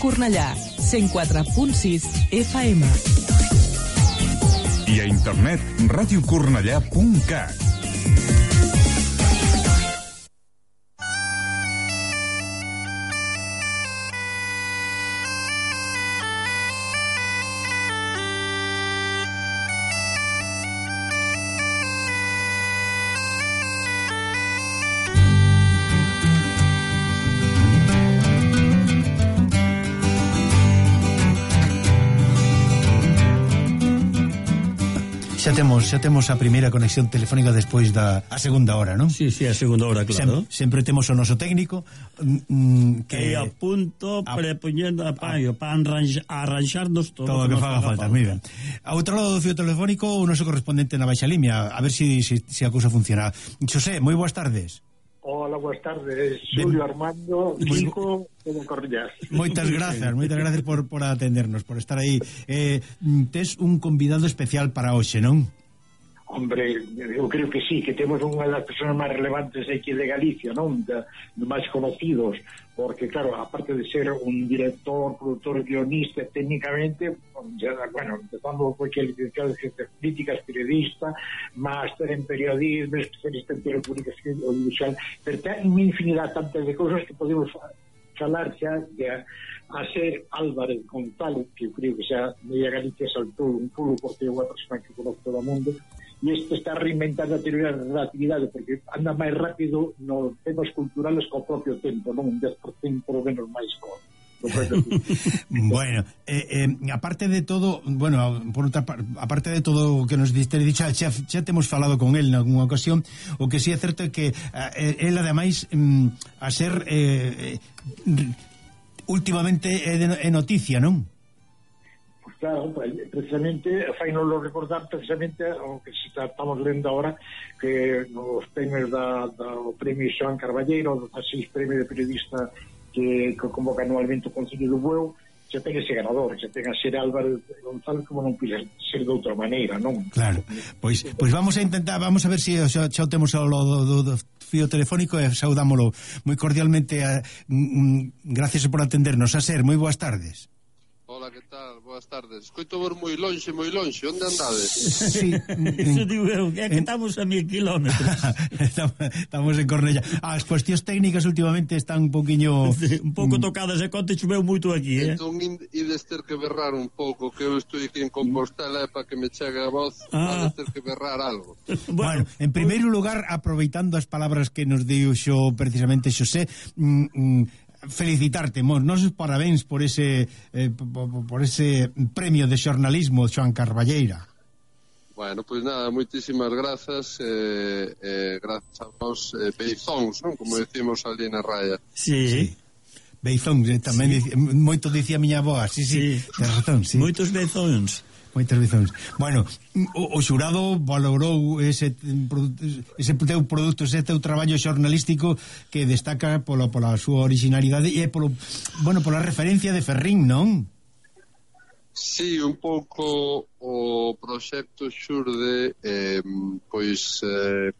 Cornellà, 104.6 FM. I a internet, radiocornellà.cat. Xa temos a primeira conexión telefónica despois da a segunda hora, non? Sí, a segunda hora, claro. Sempre temos o noso técnico que a punto prepoñendo a paio para arranxarnos todo o que faga falta. Moi ben. A outro lado do fío telefónico o noso correspondente na Baixa Limia, a ver se a cousa funciona. Xosé, moi boas tardes. Hola, boas tardes, Xulio, Armando, Chico, todo Cornellá. Moitas gracias por atendernos, por estar aí. Tes un convidado especial para hoxe, non? Hombre, eu creo que sí, que temos unha das persoas máis relevantes aquí de Galicia, non? De máis conocidos, porque, claro, aparte de ser un director, productor, guionista, técnicamente, empezando porque é licenciado en Ciencias Políticas, periodista, máster en periodismo, especialista en telecomunicación audiovisual, pero ten unha infinidade tantas de cousas que podemos falar xa de a ser Álvarez González, que eu creo que xa media Galicia saltou un pulo porque é unha persona que conoce todo o mundo, e isto está reinventando a teoría da relatividade porque anda máis rápido nos temas culturales co propio tempo, non un 10% por menos máis Bueno, aparte de todo, por outra parte, aparte de todo o que nos diste, xa temos falado con el nalgúna ocasión, o que si é certo é que el ademais a ser últimamente é noticia, non? Claro, precisamente fainolo recordar precisamente o que estamos lendo ahora, que nos premios do premio Xoán Carballeiro, dos 6 premios de periodista que convoca anualmente o Concello do Bueu, xa ten ese ganador, xa ten a ser Álvarez González, como non pode ser de outra maneira, non? Claro, pois vamos a intentar, vamos a ver se xa o temos ao do fío telefónico e saudámolo moi cordialmente. Gracias por atendernos. A ser, moi boas tardes. Hola, que tal? Boas tardes. Escoito vos moi lonxe. Onde andades? Sí, eso digo eu, que estamos a 1000 kilómetros. Estamos en Cornellá. As cuestións técnicas últimamente están un poquinho... un pouco tocadas, e conte choveu moito aquí, Entón, ides ter que berrar un pouco, que eu estou aquí en Compostela, para que me chegue a voz, ides ter que berrar algo. Bueno, en primeiro lugar, aproveitando as palabras que nos deu precisamente Xosé, felicitarte, nosos parabéns por ese premio de xornalismo Xoán Carballeira. Bueno, pois nada, moitísimas grazas, grazas a vos, beizóns, non? Como decimos ali na raya. Sí. Beizóns, tamén moito dicía a miña avoa, sí, ten razón, sí. Moitos beizóns. Bueno, o xurado valorou ese teu produto, ese teu traballo xornalístico que destaca pola súa originalidade e pola referencia de Ferrín, non? Sí, un pouco o proxecto xurde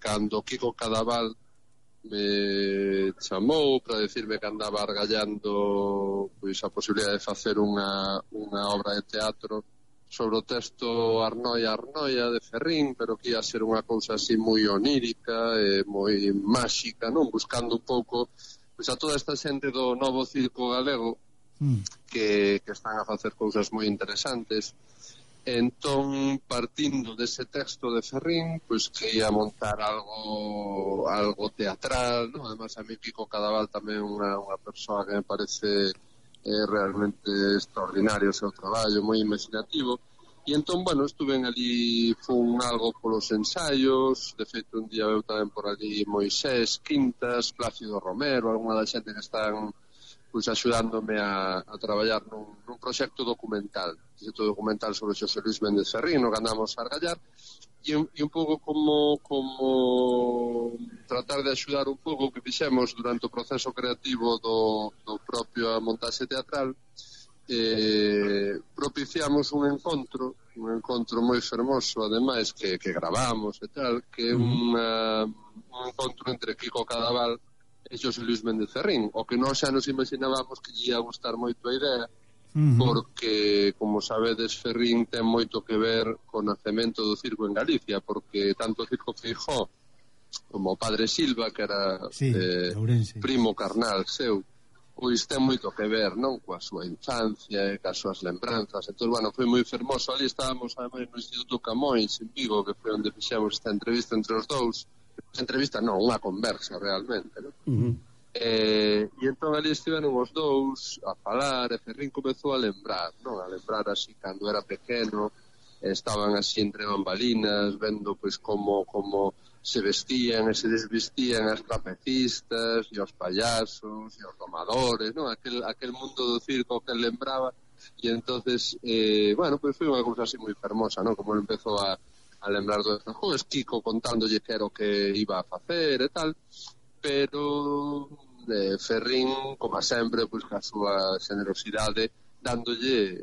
cando Kiko Cadaval me chamou para decirme que andaba argallando a posibilidade de facer unha obra de teatro sobre o texto Arnoia de Ferrín, pero que ia ser unha cousa así moi onírica e moi máxica, non? Buscando un pouco a toda esta xente do novo circo galego que están a facer cousas moi interesantes. Entón, partindo dese texto de Ferrín, que ia montar algo teatral, non? Además, a mí Kiko Cadaval tamén unha persoa que me parece realmente extraordinario o seu traballo, moi imaginativo, e entón, estuve ali, fun algo polos ensaios, de feito un día veu tamén por ali Moisés Quintas, Plácido Romero, alguna da xente que están axudándome a traballar nun proxecto documental sobre Xosé Luis Méndez Ferrín, no que andamos a argallar, e un pouco como tratar de axudar un pouco o que fixemos durante o proceso creativo do propio montaxe teatral. Propiciamos un encontro moi fermoso, ademais, que gravamos e tal, que é un encontro entre Kiko Cadaval Xosé Luis Méndez Ferrín, o que nós xa nos imaginábamos que lle ia gustar moito a idea, porque, como sabedes, Ferrín ten moito que ver co nacemento do circo en Galicia, porque tanto o Circo Feijóo como o Padre Silva, que era primo carnal seu, pois ten moito que ver, non, coa súa infancia e coas súas lembranzas. Entón, bueno, foi moi fermoso. Ali estábamos, ademais, no Instituto Camões, en Vigo, que foi onde fixemos esta entrevista entre os dous. Entrevista non, unha conversa realmente, non? E entón ali estiveron os dous a falar, e Ferrín comezou a lembrar, non? A lembrar así cando era pequeno, estaban así entre bambalinas, vendo pois como se vestían e se desvestían as trapecistas e os payasos e os domadores, non? Aquel mundo do circo que lembraba, e entonces bueno, pois foi unha cousa así moi fermosa, non? Como empezou a lembrar do despois, Kiko contándolle que era o que iba a facer e tal, pero Ferrín, como sempre, pois ca súa generosidade, dándolle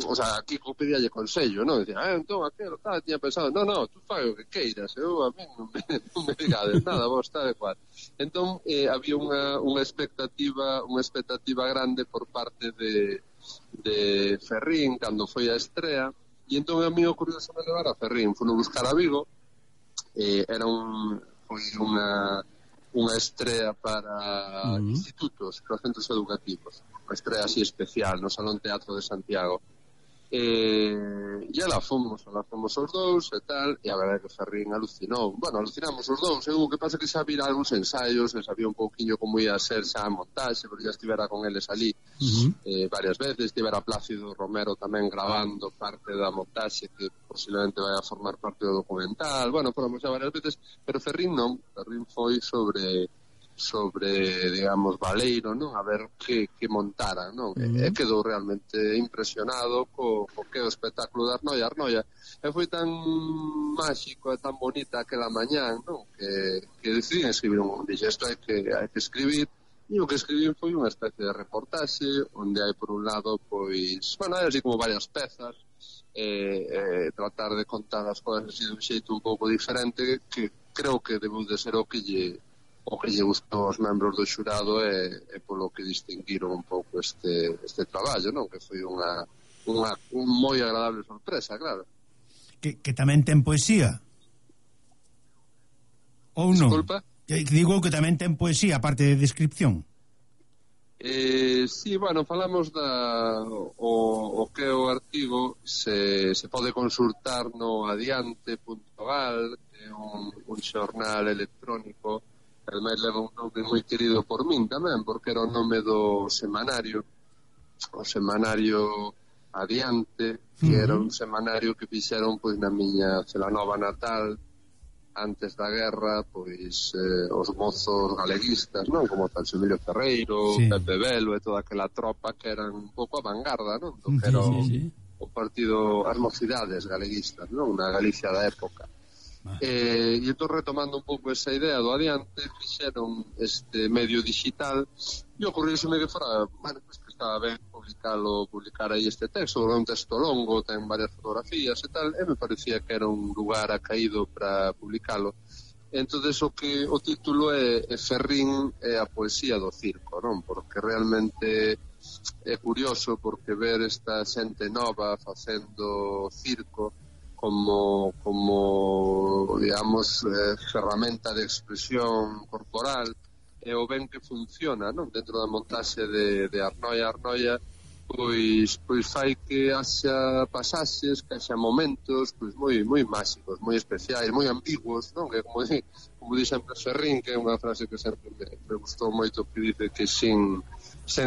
o sea, Kiko pedíalle consello, non? Dicía, entón, aquelo, tal, tiña pensado, no, tú fai o que queiras, eu a mí non me digades nada, vos tal e cual. Entón, había unha expectativa grande por parte de Ferrín cando foi a estrea. E entón a mí ocurrióse me levar a Ferrín, fui buscar a Vigo, foi unha estrea para institutos, para centros educativos, unha estrea así especial no Salón Teatro de Santiago. E alá fomos os dous e tal, e a verdade que Ferrín alucinou. Bueno, alucinamos os dous, o que pasa que xa vira algúns ensaios, e sabía un pouquiño como ia ser xa a montaxe, porque xa estivera con eles ali varias veces, estivera Plácido Romero tamén grabando parte da montaxe que posiblemente vai a formar parte do documental. Bueno, fomos xa varias veces, pero Ferrín non, Ferrín foi sobre, digamos, Baleiro, non? A ver que montara, non? E quedou realmente impresionado co que o espectáculo de Arnoia. E foi tan máxico e tan bonita aquela mañán, non? Que decidí escribir isto hai que escribir, e o que escribín foi unha especie de reportaxe onde hai por un lado, pois, bueno, hai así como varias pezas, tratar de contar as cousas así dun xeito un pouco diferente, que creo que debeu de ser o que lle gustou aos membros do xurado e polo que distinguiron un pouco este traballo, non? Que foi unha moi agradable sorpresa, claro. Que tamén ten poesía? Ou non? Disculpa? Digo que tamén ten poesía, aparte de descripción. Sí, bueno, falamos o que é o artigo se pode consultar no adiante.gal, que é un xornal electrónico. El máis leva un nome moi querido por min tamén, porque era o nome do semanario, o semanario Adiante, que era un semanario que fixeron pois na miña Celanova natal antes da guerra, pois os mozos galeguistas, non? Como Emilio Ferreiro, Pepe Velo e toda aquela tropa que eran un pouco a vanguarda, non? Do que era o partido, as mocidades galeguistas, non? Na Galicia da época. E entón, retomando un pouco esa idea do Adiante, fixeron este medio digital e ocorrióseme que fora, bueno, pues que estaba ben publicar aí este texto, é un texto longo, ten varias fotografías e tal, e me parecía que era un lugar acaído para publicalo. Entón, o título é Ferrín e a poesía do circo, non? Porque realmente é curioso, porque ver esta xente nova facendo circo como digamos, ferramenta de expresión corporal, e o ben que funciona, non? Dentro da montaxe de Arnoia, pois fai que haxa pasaxes, que haxa momentos pois moi máxicos, moi especiais, moi ambiguos, non? Que como di sempre Ferrín, que é unha frase que sempre me gustou moito, que dice que sen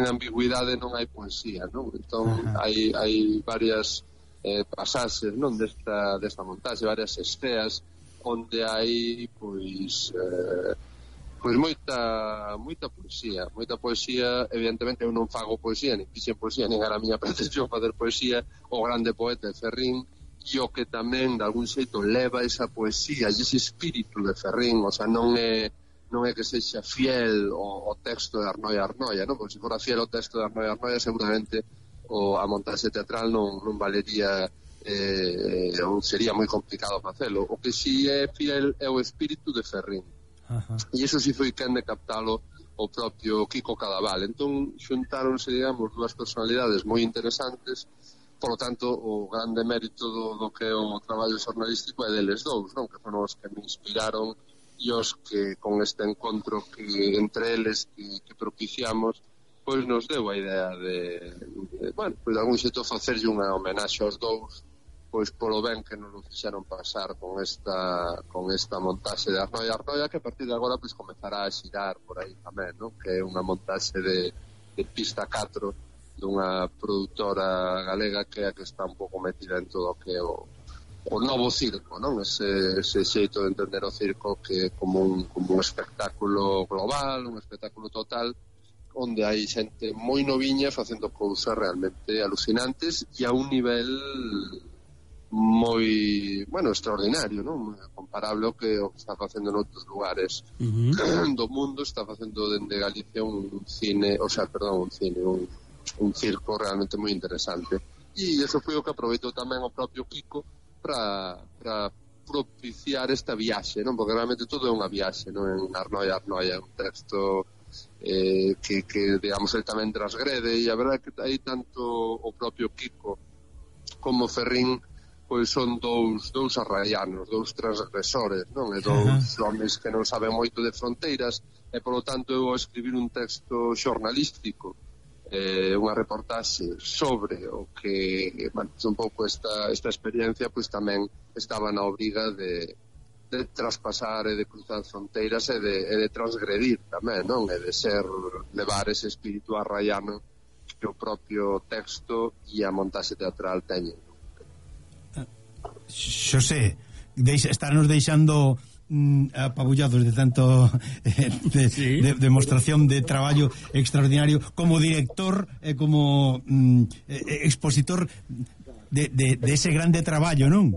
ambigüidade non hai poesía, non? Entón hai varias pasaxes, non, desta montaxe, varias esteas onde hai pois moita poesía. Evidentemente eu non fago poesía, nin fixen poesía, nin era a miña pretensión facer poesía. O grande poeta é Ferrín, e o que tamén de algún xeito leva esa poesía e ese espírito de Ferrín, o sea, non é que sexa fiel o texto de Arnoia, non? Porque se fora fiel o texto de Arnoia, seguramente a montaxe teatral non valería, ou sería moi complicado facelo. O que si é fiel é o espírito de Ferrín. e iso si foi quen de captalo o propio Kiko Cadaval. Entón xuntáronse, digamos, dúas personalidades moi interesantes. Por lo tanto, o grande mérito do que é o traballo xornalístico é deles dous, non? Que foron os que me inspiraron e os que con este encontro que entre eles que propiciamos, pois nos deu a idea de bueno, pois de algún xeito facerlle unha homenaxe aos dous, pois polo ben que nos lo fixeron pasar con esta montaxe de Arnoia, que a partir de agora pois comezará a xirar por aí tamén, non? Que é unha montaxe de Pista 4 dunha produtora galega que é a que está un pouco metida en todo o que é o novo circo, non? Ese xeito de entender o circo que é como un espectáculo global, un espectáculo total, onde hai xente moi noviña facendo cousas realmente alucinantes e a un nivel moi, bueno, extraordinario, non? Comparable ao que está facendo en outros lugares do mundo. Está facendo dende Galicia un circo realmente moi interesante, e iso foi o que aproveitou tamén o propio Kiko para propiciar esta viaxe, non? Porque realmente todo é unha viaxe, non? En Arnoia é un texto que digamos, ele tamén transgrede, e a verdade é que aí tanto o propio Kiko como Ferrín pois son dous arraianos, dous transgresores, non? E dous homes que non saben moito de fronteiras, e polo tanto eu ao escribir un texto xornalístico, unha reportaxe sobre o que, bueno, un pouco esta experiencia, pois tamén estaba na obriga de traspasar e de cruzar fronteiras e de transgredir tamén, non? E de levar ese espírito arraiano que o propio texto e a montaxe teatral teñen. Xosé, estarnos deixando apabullados de tanto de demostración de traballo extraordinario como director e como expositor de ese grande traballo, non?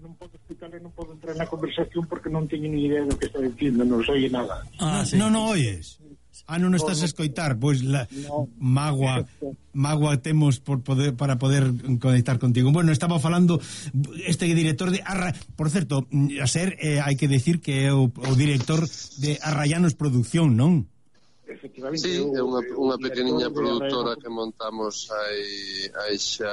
Non podo explicarle, non podo entrar na conversación porque non teño ni idea do que está dicindo, non oye nada. Non oyes. Non estás a escoitar, pois mágoa temos para poder conectar contigo. Bueno, estaba falando este director de por certo, a ser hai que decir que é o director de Arraianos Producción, non? Efectivamente. Sí, é unha pequeniña produtora que montamos hai xa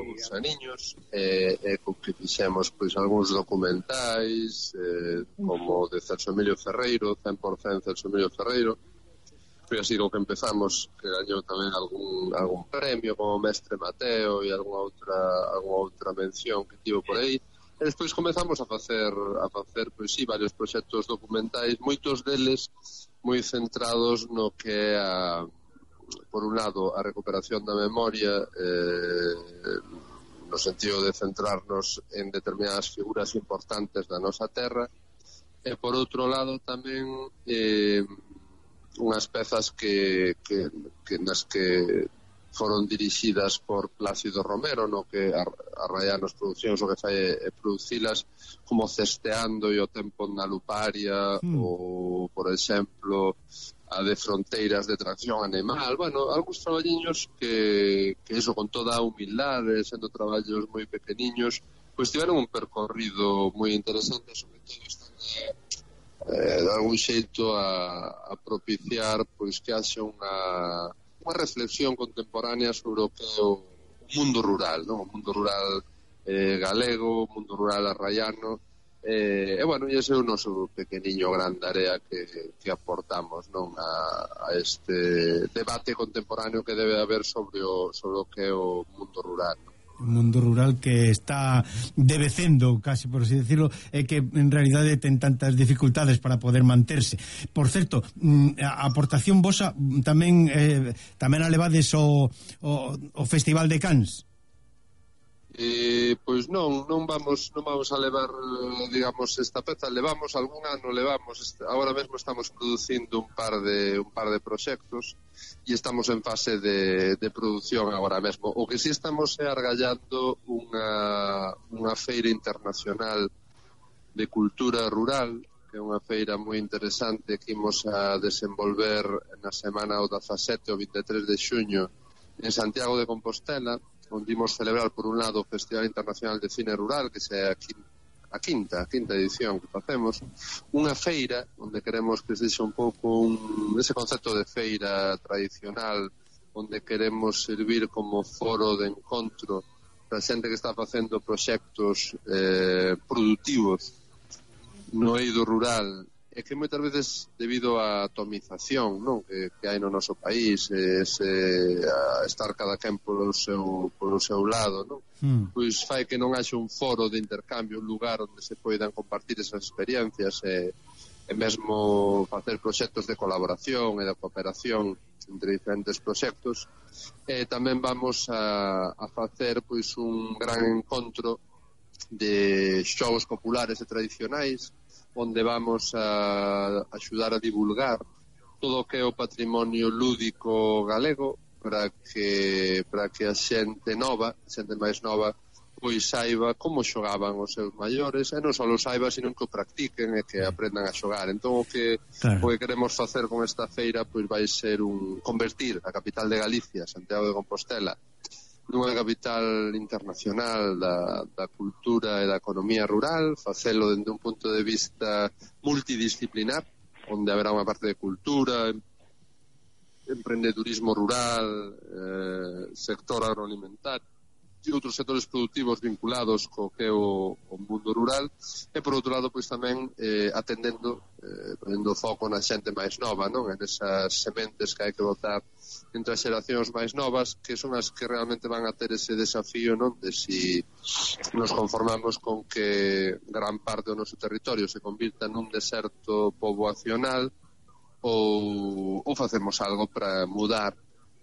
uns aniños, e co que fixemos pois algúns documentais, como de Celso Emilio Ferreiro, 100% Celso Emilio Ferreiro. Foi así co que empezamos, que gañou tamén algún premio como Mestre Mateo e algunha outra mención que tivo por aí. E despois comezamos a facer pois sí, varios proxectos documentais, moitos deles moi centrados no que é por un lado a recuperación da memoria, no sentido de centrarnos en determinadas figuras importantes da nosa terra, e por outro lado tamén unhas pezas nas que foron dirixidas por Plácido Romero, no que Arraianos Produccións o que fai é producilas como Cesteando e o tempo na Luparia, ou, por exemplo, a de Fronteiras de Tracción Animal. Bueno, algúns traballiños que iso con toda a humildade, sendo traballos moi pequeniños, pois tiveron un percorrido moi interesante, sobre todo de algún xeito a propiciar pois que haxe unha reflexión contemporánea sobre o que é o mundo rural, non? O mundo rural galego, o mundo rural arraiano, e bueno, e ese é o noso pequeniño grande área que aportamos, non? A este debate contemporáneo que debe haber sobre o que é o mundo rural, non? Un mundo rural que está devecendo, casi por así decirlo, e que en realidade ten tantas dificultades para poder manterse. Por certo, a aportación vosa tamén a levades o Festival de Cans. Pois non vamos a levar, digamos, esta peza. Levamos algún ano, agora mesmo estamos producindo un par de proxectos e estamos en fase de produción agora mesmo. O que si estamos é argallando unha feira internacional de cultura rural, que é unha feira moi interesante que imos a desenvolver na semana o 17 ou 23 de xuño en Santiago de Compostela, onde imos celebrar por un lado o Festival Internacional de Cine Rural, que se aquí a quinta edición que facemos, unha feira onde queremos que sexa un pouco ese concepto de feira tradicional, onde queremos servir como foro de encontro para a xente que está facendo proxectos productivos no eido rural, e que moitas veces debido á atomización, non, que hai no noso país, a estar cada quen polo seu lado, non? Pois fai que non haxe un foro de intercambio, un lugar onde se poidan compartir esas experiencias e mesmo facer proxectos de colaboración e de cooperación entre diferentes proxectos. E tamén vamos a facer pois un gran encontro de xogos populares e tradicionais, onde vamos a axudar a divulgar todo o que é o patrimonio lúdico galego para que a xente máis nova, pois saiba como xogaban os seus maiores, e non só o saiba, sino que o practiquen e que aprendan a xogar. Entón o que queremos facer con esta feira pois vai ser convertir a capital de Galicia, Santiago de Compostela, nunha capital internacional da cultura e da economía rural, facelo dende un punto de vista multidisciplinar, onde haberá unha parte de cultura, emprendedurismo rural, sector agroalimentario e outros sectores productivos vinculados co que é o mundo rural, e por outro lado pois tamén ponendo foco na xente máis nova, non? En esas sementes que hai que botar entre as xeracións máis novas, que son as que realmente van a ter ese desafío, non? De si nos conformamos con que gran parte do noso territorio se convirta nun deserto poboacional ou facemos algo para mudar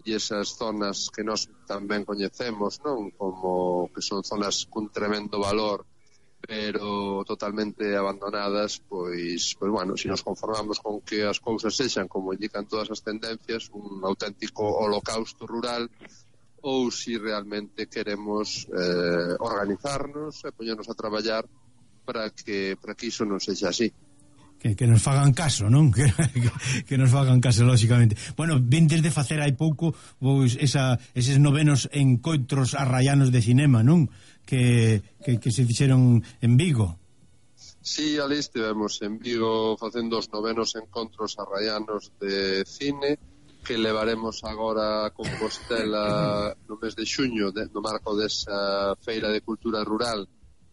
e esas zonas que nós tamén coñecemos, non? Como que son zonas cun tremendo valor pero totalmente abandonadas, pois bueno, se nos conformamos con que as cousas sexan como indican todas as tendencias, un auténtico holocausto rural, ou si realmente queremos organizarnos e poñernos a traballar para que iso non sexa así. Que nos fagan caso, non? Que nos fagan caso, lógicamente. Bueno, vintes de facer hai pouco pois eses novenos encontros arraianos de cinema, non? Que se fixeron en Vigo. Sí, ali estivemos en Vigo facendo os novenos encontros arraianos de cine, que levaremos agora a Compostela no mes de xuño, no marco desa feira de cultura rural,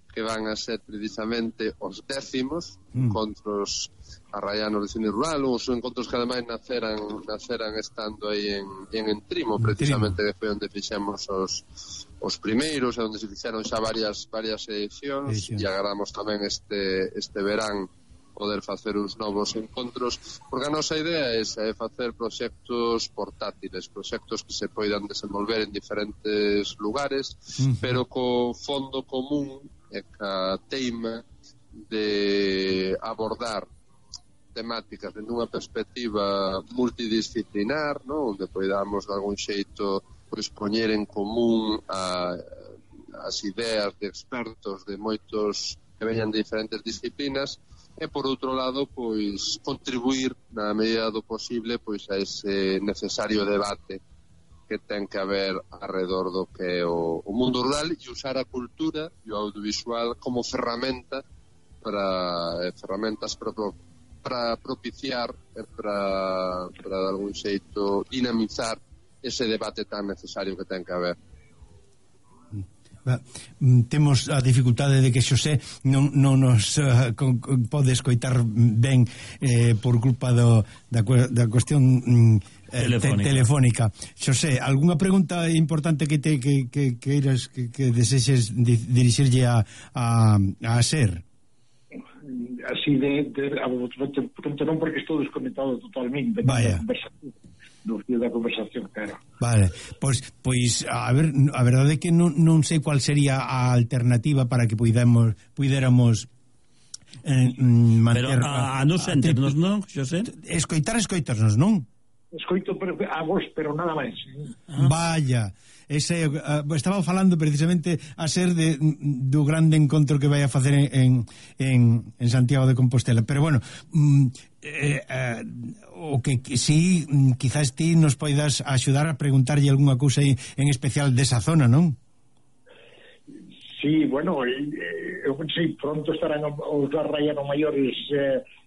que van a ser precisamente os 10º encontros arraianos de cine rural, os encontros que ademais naceran estando aí en Trimo, precisamente, que foi onde fixemos os primeiros, e onde se fixeron xa varias edicións, e agardamos tamén este verán poder facer uns novos encontros, porque a nosa idea é facer proxectos portátiles, proxectos que se poidan desenvolver en diferentes lugares, pero co fondo común e ca teima de abordar temáticas dende unha perspectiva multidisciplinar, non? Onde poidamos de algún xeito pois poñer en común as ideas de expertos de moitos que veñan de diferentes disciplinas, e por outro lado pois contribuir na medida do posible pois a ese necesario debate que ten que haber alrededor do que é o mundo rural, e usar a cultura e o audiovisual como ferramenta ferramentas para propiciar e para de algún xeito dinamizar ese debate tan necesario que ten que haber. Temos a dificultade de que Xosé non nos pode escoitar ben por culpa da cuestión telefónica. Xosé, algunha pregunta importante que queiras que desexes dirixirlle a SER? Así non, porque estou desconectado totalmente. Vaya. No fío da conversación, claro. Vale, pois a ver, a verdade é que non sei cual sería a alternativa para que puidéramos manter... Pero a nos enternos, non, Xosé? Escoitarnos, non? Escoito a vos, pero nada máis. Vaya, estaba falando precisamente a SER do grande encontro que vai a facer en Santiago de Compostela, pero bueno, o que si quizás ti nos poidas axudar a preguntarlle algunha cousa en especial desa zona, non? Sí, bueno, eu pensei pronto estarán os Arraiano Maiores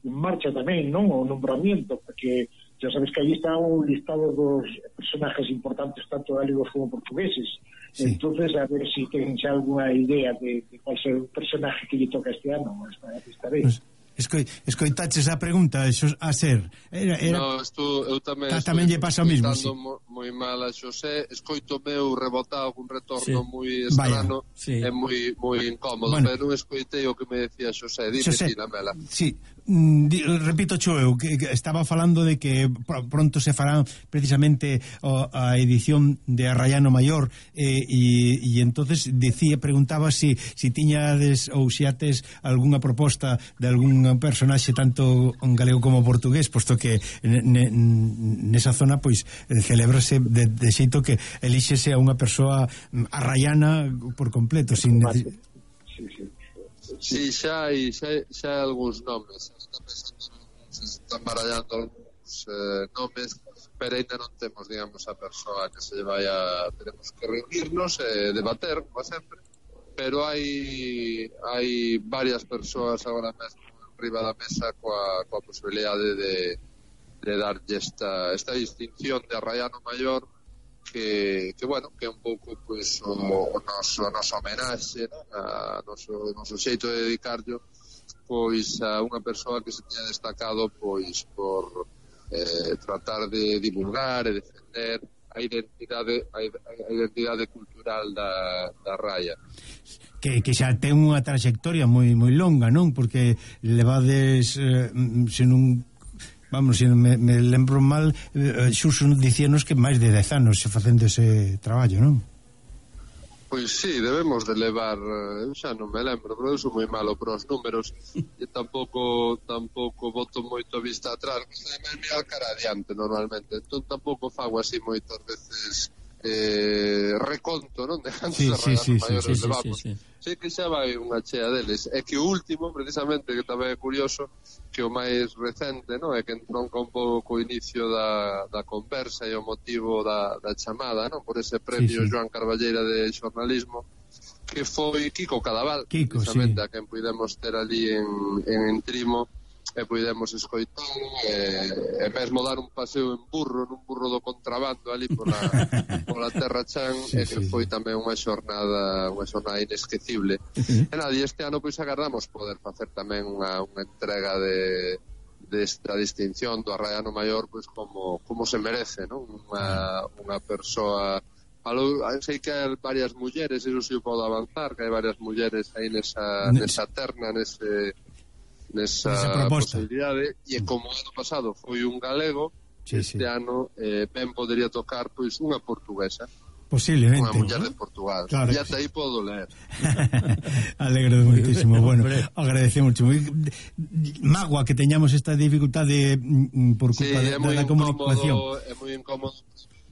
en marcha tamén, non? O nombramiento, porque xa sabes que aí está un listado dos personajes importantes tanto galegos como portugueses. Sí. Entonces, a ver si ten xa alguna idea de cuál ser o personaje que lle toca este ano esta vez. Escoitaches a pregunta a ser era... No, eu tamén lle pasa o mismo, sí. moi mal a Xosé, escoito meu rebotado un retorno moi estrano, sí. É moi incómodo, bueno, pero non escoitei o que me decía Xosé. Dime, Lamela. Sí, repito eu que estaba falando de que pronto se fará precisamente a edición de Arraiano Maior e entonces preguntaba si tiñades ou tes algunha proposta de algún personaxe tanto galego como portugués, posto que nesa zona pois celébrase de xeito que elíxese a unha persoa arraiana por completo sin Sí, xa hai algúns nomes. Se están barallando algúns nomes, pero ainda non temos, digamos, a persoa que se vaya. Tenemos que reunirnos e debater, como sempre, pero hai varias persoas agora mesmo arriba da mesa coa posibilidade de darlle esta distinción de Arraiano Maior que bueno, que é un pouco pois o noso homenaxe, ¿no? A noso xeito de dedicarlo pois a unha persoa que se tiña destacado pois por tratar de divulgar e defender a identidade cultural da Raia. Que xa ten unha trayectoria moi longa, non? Porque levades se non vamos, se me lembro mal, Xuxo dicíanos que máis de 10 anos se facendo ese traballo, non? Pois sí, debemos de levar, eu xa non me lembro, pero eu sou moi malo para os números e tampouco boto moito a vista atrás, gusta de mirar cara adiante normalmente, entón tampouco fago así moitas veces reconto, non? De antes de Arraiano Maiores levamos. Sei que xa vai unha chea deles. É que o último, precisamente, que tamén é curioso, que o máis recente, non? É que entronca un pouco o inicio da conversa e o motivo da chamada, non? Por ese premio Joan Carballeira de xornalismo, que foi Kiko Cadaval, precisamente, a quen puidemos ter ali en Trimo, e puidemos escoitar e mesmo dar un paseo nun burro do contrabando ali pola Terra Chan, e que foi tamén unha xornada inesquecible. E nada, e este ano pois agardamos poder facer tamén unha entrega desta distinción do Arraiano Maior pois como se merece, non? Unha persoa. Sei que hai varias mulleres, eso si o podo avanzar, que hai varias mulleres aí nesa terna, nesa posibilidade, e como ano pasado foi un galego, este ano ben podería tocar pois unha portuguesa, posiblemente, unha muller de Portugal, claro, e ata aí podo ler. Alegro muitísimo. Bueno, agradecemos Magua que teñamos esta dificultade por culpa da comunicación. É moi incómodo.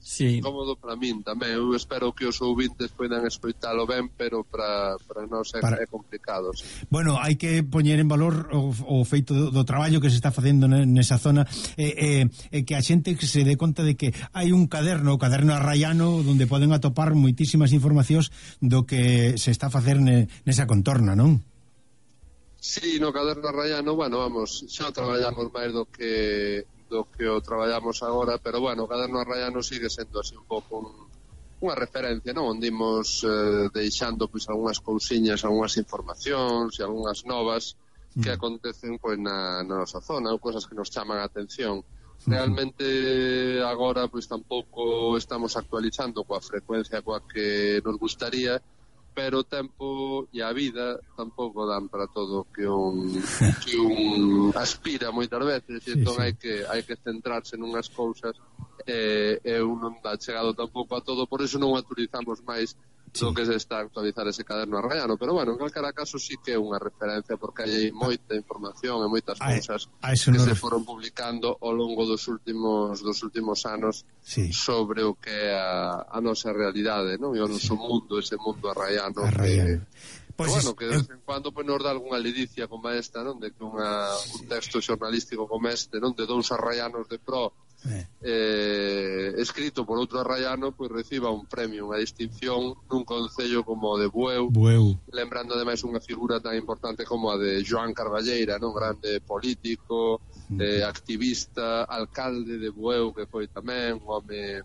Sí. Cómodo para min tamén. Eu espero que os ouvintes poidan escoitalo ben, pero para nós é complicado. Sí. Bueno, hai que poñer en valor o feito do traballo que se está facendo nesa zona e que a xente se dé conta de que hai un caderno, o caderno arraiano, onde poden atopar moitísimas informacións do que se está a facer nesa contorna, non? Sí, no caderno arraiano, bueno, vamos, xa traballamos máis do que o traballamos agora, pero bueno, o caderno arraiano sigue sendo así un pouco unha referencia, non? Onde imos deixando pois algunhas cousiñas, algunhas informacións e algunhas novas que acontecen pois na nosa zona, ou cosas que nos chaman a atención. Realmente agora pois tampouco estamos actualizando coa frecuencia coa que nos gustaría, pero o tempo e a vida tampouco dan para todo que un aspira moitas veces, e entón hai que centrarse nunhas cousas e un non dá chegado tampouco a todo, por iso non actualizamos máis do que se está a actualizar ese caderno arraiano, pero bueno, en calquera caso sí que é unha referencia, porque hai moita información e moitas cousas que se foron publicando ao longo dos últimos anos sobre o que é a nosa realidade, non? E o noso mundo, ese mundo arraiano. Pues bueno, que de vez en cuando pues, nos dá algunha ledicia como esta, non? De que un texto xornalístico como este, non? De dous arraianos de pro escrito por outro arraiano, pois reciba un premio, unha distinción nun concello como o de Bueu, lembrando ademais unha figura tan importante como a de Joan Carballeira, non, grande político, activista, alcalde de Bueu, que foi tamén un home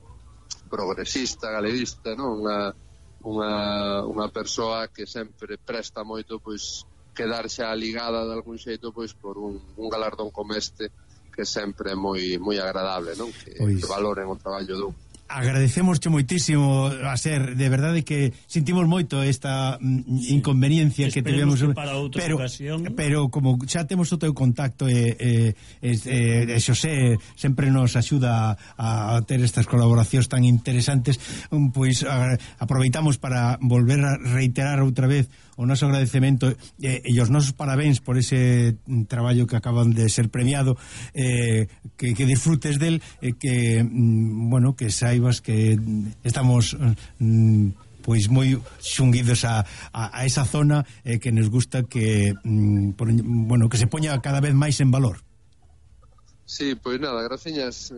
progresista, galeguista, non, unha persoa que sempre presta moito, pois, quedarse ligada de algún xeito, pois, por un galardón como este, que sempre é moi agradable, non? Que valoren o traballo dun. Agradecemosche moitísimo a ser, de verdade que sentimos moito esta inconveniencia que tivemos, para outra ocasión. Pero como xa temos o teu contacto Xosé sempre nos axuda a ter estas colaboracións tan interesantes, pois aproveitamos para volver a reiterar outra vez o noso agradecemento e os nosos parabéns por ese traballo que acaban de ser premiado, que disfrutes del, que bueno, que saibas que estamos pois moi xunguidos a esa zona, que nos gusta que bueno, que se poña cada vez máis en valor. Sí, pois nada, graciñas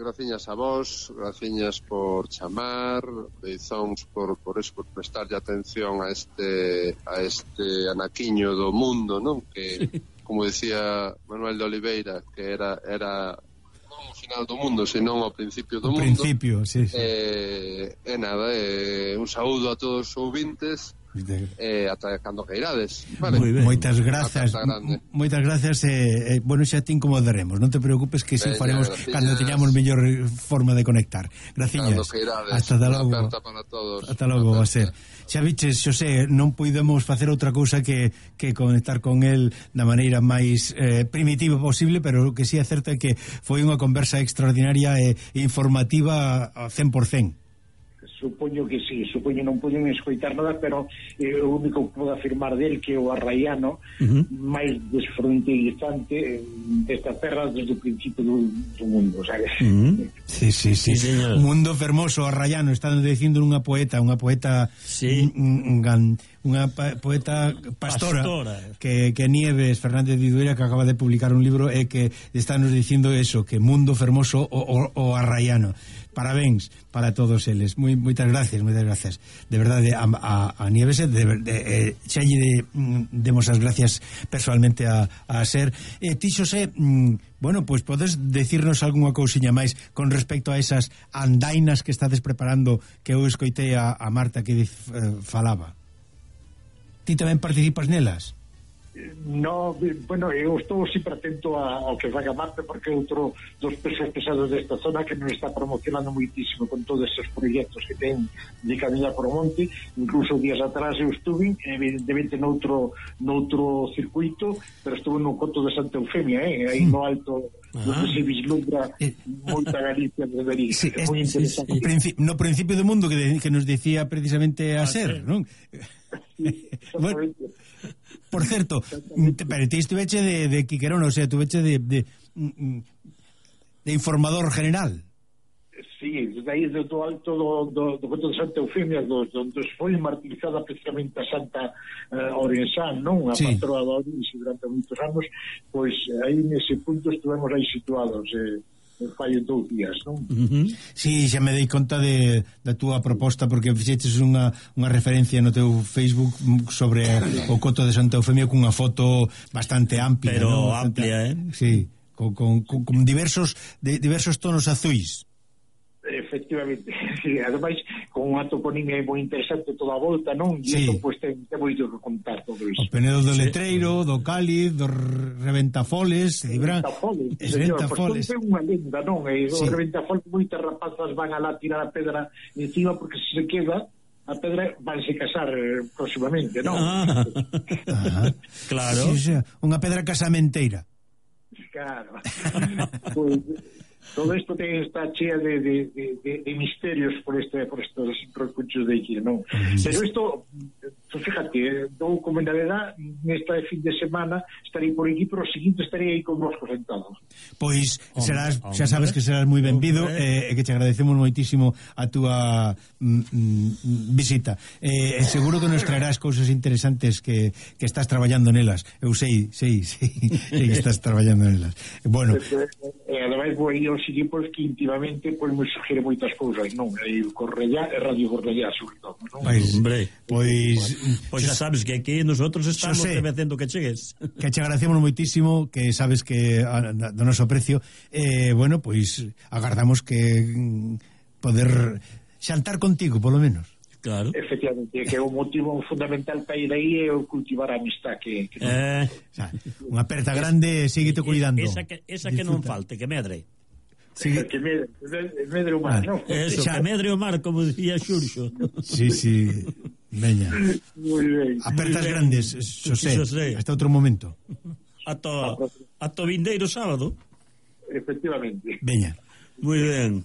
a vos, graciñas por chamar, beizóns por prestarlle atención a este anaquiño do mundo, non? Que, como decía Manuel de Oliveira, que era non o final do mundo, senón o principio do mundo. Sí. Nada, un saúdo a todos os ouvintes, ata cando que irades, vale? Moitas grazas, bueno, xa te incomodaremos, non te preocupes, que si faremos cando teñamos mellor forma de conectar. Graciñas, hasta logo. Hasta logo, va a ser. Xa viches, Xosé, non puidemos facer outra cousa que conectar con el da maneira máis primitiva posible, pero que si é certo é que foi unha conversa extraordinaria e informativa a 100%. Supoño que sí, non poden escoitar nada, pero o único que podo afirmar del que o arraiano máis desfronteirizante desta terra desde o principio do mundo, sabes? Sí. Mundo fermoso, arraiano, están dicindo unha poeta sí. unha poeta pastora. Que Nieves Fernández de Iduera, que acaba de publicar un libro, e que está nos dicindo eso, que mundo fermoso o arraiano. Parabéns para todos eles. Moitas gracias. De verdade, a Nieves xa lle demos as gracias personalmente a Ser. Ti, Xosé, bueno, pois podes decirnos algunha cousiña máis con respecto a esas andainas que estades preparando, que eu escoitei a Marta que falaba. Ti tamén participas nelas? No, bueno, eu estou sempre atento ao que faga Marta, porque outro dos pesos pesados desta zona que nos está promocionando moitísimo con todos estes proxectos que ten de camiñar por o monte. Incluso días atrás eu estuve evidentemente noutro circuito, pero estuve no Coto de Santa Eufemia, aí no alto, onde se vislumbra moita Galicia desde ali. É moi interesante. No principio do mundo que nos decía precisamente a Ser, non? Sí, bueno, por certo, pero ti estuveche de Quiquerón, o sea, tuveche de informador general. Sí, desde aí do alto do Coto de Santa Eufemia, onde foi martirizada precisamente a Santa Orensán, non? A patroa da Ourense durante moitos anos, pois aí nese punto estivemos aí situados, fai 2 días, non? Sí, xa me dei conta da túa proposta, porque fixeches unha referencia no teu Facebook sobre o Coto de Santa Eufemia cunha foto bastante amplia, pero ¿no? amplia, Sí, con diversos tonos azuis. Efectivamente, ademais con unha toponimia moi interesante toda a volta, non? E isto pois ten moito que contar todo iso. O Penedo do Letreiro, do Cáliz, do Reventafoles, Reventafoles, pois é unha lenda, non? E o Reventafoles moitas rapazas van alá tirar a pedra encima, porque se queda a pedra vanse casar próximamente, non? Claro. Sí, unha pedra casamenteira. Claro. Pois todo isto está chea de misterios por estos recursos de aquí, non? Pero isto fíjate, dou como novedad, nesta fin de semana estarei por aquí, pero o seguinte estarei aí con vosco sentados. Pois serás, xa sabes que serás moi benvido, e que te agradecemos moitísimo a túa visita. Seguro que nos traerás cousas interesantes que estás traballando nelas. Eu sei que estás traballando nelas. Bueno, ademais vou aí aos equipos que íntimamente me sugiere moitas cousas, non? E Cornellá e Radio Cornellá, sobre todo, non? Pois xa sabes que aquí nosotros estamos facendo que chegues. Que te agradecemos moitísimo, que sabes que do noso precio, bueno, pois agardamos que poder xantar contigo, polo menos. Claro. Efectivamente, que é o motivo fundamental para ir aí é o cultivar a amistad que unha aperta grande, síguete cuidando. Esa que non falte, que medre. Sí. Que medre o mar, non? Eso, que medre o mar, como dicía Xurxo. Sí, veña. Moi ben. Apertas grandes, Xosé, hasta outro momento. Ata o vindeiro sábado. Efectivamente. Veña. Moi ben.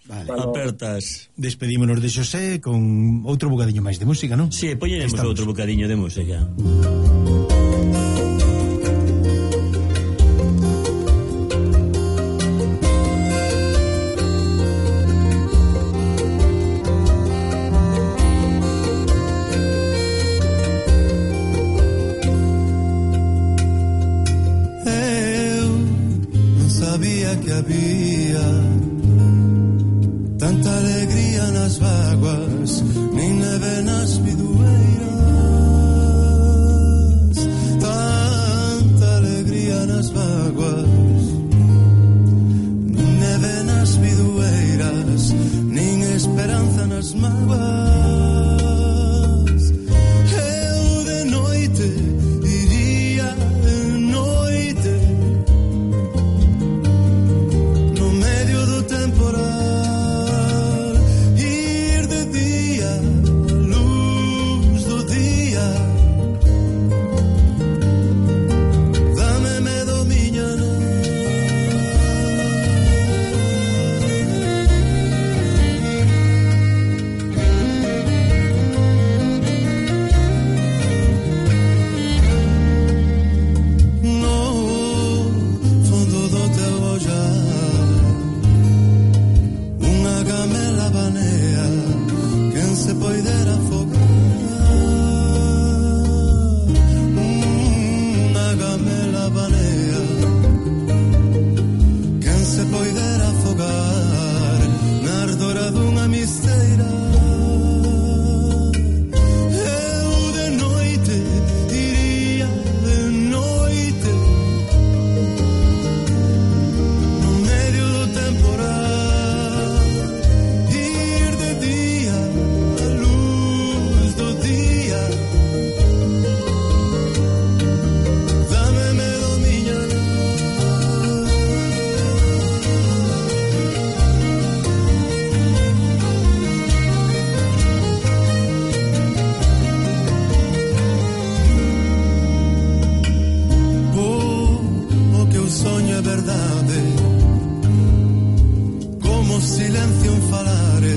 Vale. Apertas. Despedímonos de Xosé con outro bocadiño máis de música, non? Si, poñeremos outro bocadiño de música. Que había tanta alegría nas vaguas, nin neve nas bidueiras, tanta alegría nas vaguas, nin neve nas bidueiras, nin esperanza nas mágoas. Eu de noite iría de noite temporal, ir de día a luz do día, dame medo miña no fondo do teu ollar unha gamela banea quen se poidera afogar, unha gamela banea quen se poidera afogar na ardora dunha misteira. Eu de noite iría de noite no medio do temporal, ir de día a luz do día, dame medo miña o que eu sonho é verdade, como silencio en falare,